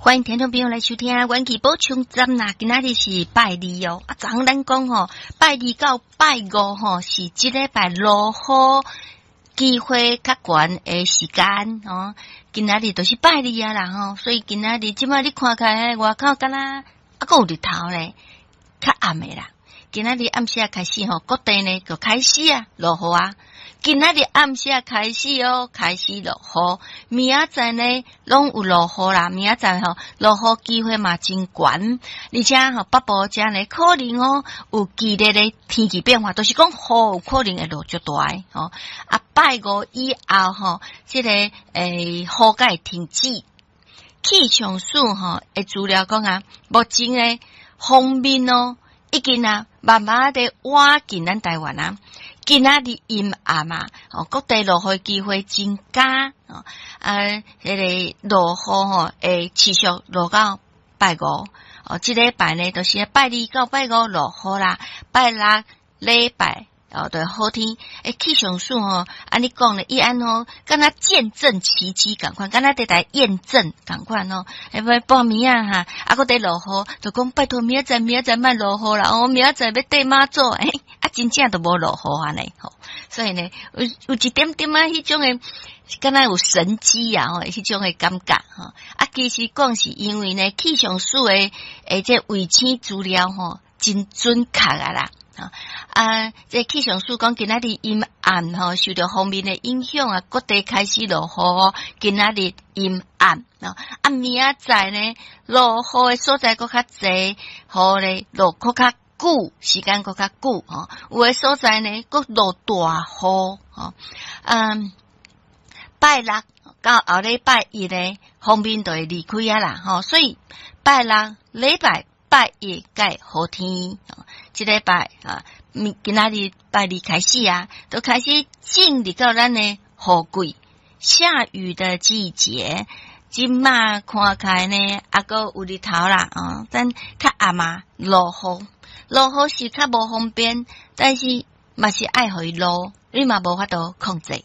歡迎聽眾朋友來收聽元氣補充站啦！今仔日是拜二哦，啊，昨昏咱講吼，拜二到拜五吼是這禮拜落雨機會較懸的時間吼。今仔日就是拜二啊啦吼，所以今仔日這擺你看起來外口敢若猶閣有日頭咧，較暗的啦。今仔日暗時仔開始吼，各地呢就開始啊落雨啊。今仔日暗時仔開始哦，開始落雨。明仔載呢攏有落雨啦，明仔載吼落雨機會嘛真懸，而且吼北部遮呢可能哦有劇烈的天氣變化，就是講雨有可能會落足大的吼。啊，拜五以後吼，這個雨才會停止。氣象署吼的資料講啊，目前的鋒面哦，已經啊慢慢的倚近咱台灣啊。今仔日陰暗啊，哦，各地落雨機會增加，哦，啊，彼個落雨吼會持續落到拜五，哦，這禮拜呢，就是拜二到拜五落雨啦，拜六禮拜哦，就好天。欸，氣象署吼，按呢講咧，伊按吼，敢若見證奇蹟仝款，敢若佇來驗證仝款哦。欸，欲半暝仔哈，啊，閣佇落雨，就講拜託明仔載，明仔載莫落雨啦，哦，明仔載欲綴媽祖，欸，啊，真正都無落雨按呢吼。所以呢，有一點點仔彼種的，敢若有神蹟啊吼，彼種的感覺吼。啊，其實講是因為呢，氣象署的欸這衛星資料吼，真準確啊啦。啊，這氣象署講今仔日陰暗吼，受著鋒面的影響啊，各地開始落雨。今仔日陰暗啊，明仔載呢，落雨的所在閣較濟，雨咧落閣較久，時間閣較久吼。有的所在呢，閣落大雨吼。嗯，拜六到後禮拜一呢，鋒面就會離開啊啦吼，所以拜六禮拜拜一才會好天，這禮拜啊，今仔日拜二開始啊，都開始進入到咱的雨季，下雨的季節。這馬看起來呢，猶閣有日頭啦，哦，但較暗啊，落雨，落雨是較無方便，但是嘛是愛予伊落，你嘛無法度控制。